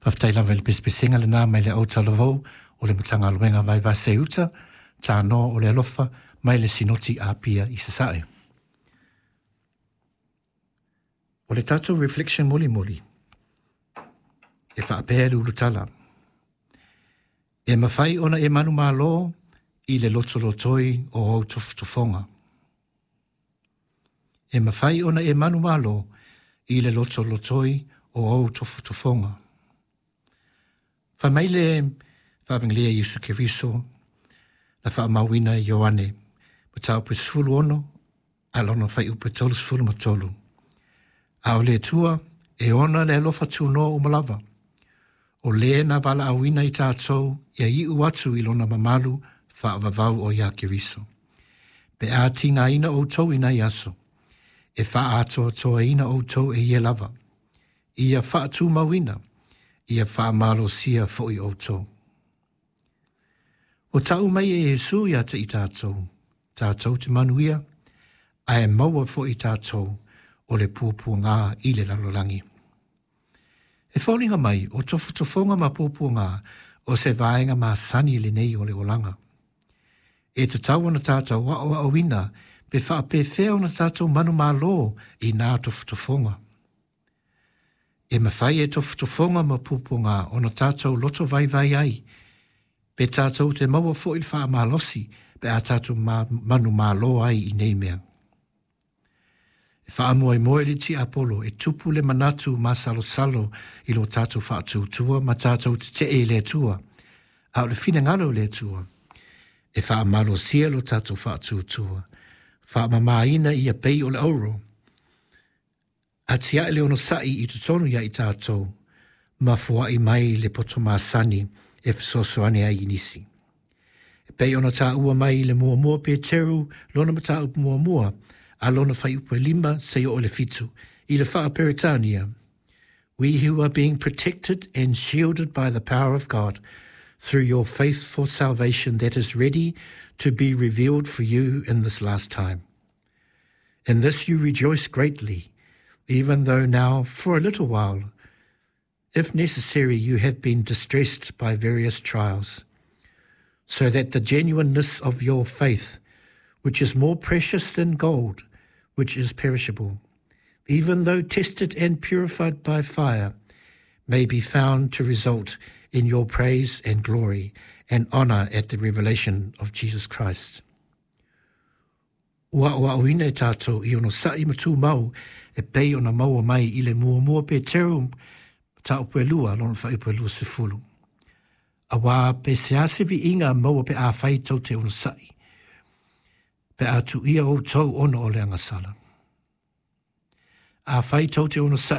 Faafetai lava i le pesepesega lena mai le autalavou o le Matagaluega Vaivase Uta, Tanoa o le Alofa mai le Sinoti Apia i Sasae. O le tatou reflection mulimuli, e faapea le ulutala. E mafai ona e manumalo i le lotolotoi o ou tofotofoga. E mafai ona e manumalo i le lotolotoi o ou tofotofoga. Fai mai le Faavagilia Iesu Keriso na faamauina e Ioane, mataupu e 16 a lona fuaiupu e 33. A o le Atua e ona le alofa tunoa uma lava, o le na valaauina i tatou ia iu atu i lona mamalu faavavau o ia Keriso. Pe a tigaina outou i nai aso, e faaatoatoaina outou e ia lava, ia faatumauina, ia faamalosia foi outou. Ua tau mai e Iesu ia te i tatou, tatou te manuia, ae maua foi tatou o le puapuaga i le lalolagi. E foliga mai o tofotofoga ma puapuaga o se vaega masani lenei o le olaga. E tatau ona tatou aoaoina pe faapefea ona tatou manumalo i nā tofotofoga. E mafai e tofotofoga ma puapuaga ona tatou loto vaivai ai, pe tatou te maua foi le faamalosi pe a tatou manumalo ai i nei mea. E faamoemoe le tiapolo e tupu le manatu masalosalo i lo tatou faatuatua ma tatou tetee i le Atua, a o le finagalo o le Atua, e faamalosia lo tatou faatuatua, faamamaina ia pei o le auro, atiae le onosai i totonu ia i tatou, ma foai mai le poto masani e fesoasoani ai i nisi. E pei ona taua mai i le muamua Peteru lona mataupu muamua a lona fuaiupu e 5 seia oo i le 7 i le faa-Peretania. We who are being protected and shielded by the power of God through your faith for salvation that is ready to be revealed for you in this last time. In this you rejoice greatly, even though now, for a little while, if necessary, you have been distressed by various trials, so that the genuineness of your faith, which is more precious than gold, which is perishable, even though tested and purified by fire, may be found to result in your praise and glory and honor at the revelation of Jesus Christ. Ua aoaoina e tatou i onosai ma tumau e pei ona maua mai i le muamua Peteru mataupu e 2 lona fuaiupu e 20. Auā pe se a se viiga maua pe afai tou te onosai, pe a tuuia outou ona o le agasala. Afai tou te onosai.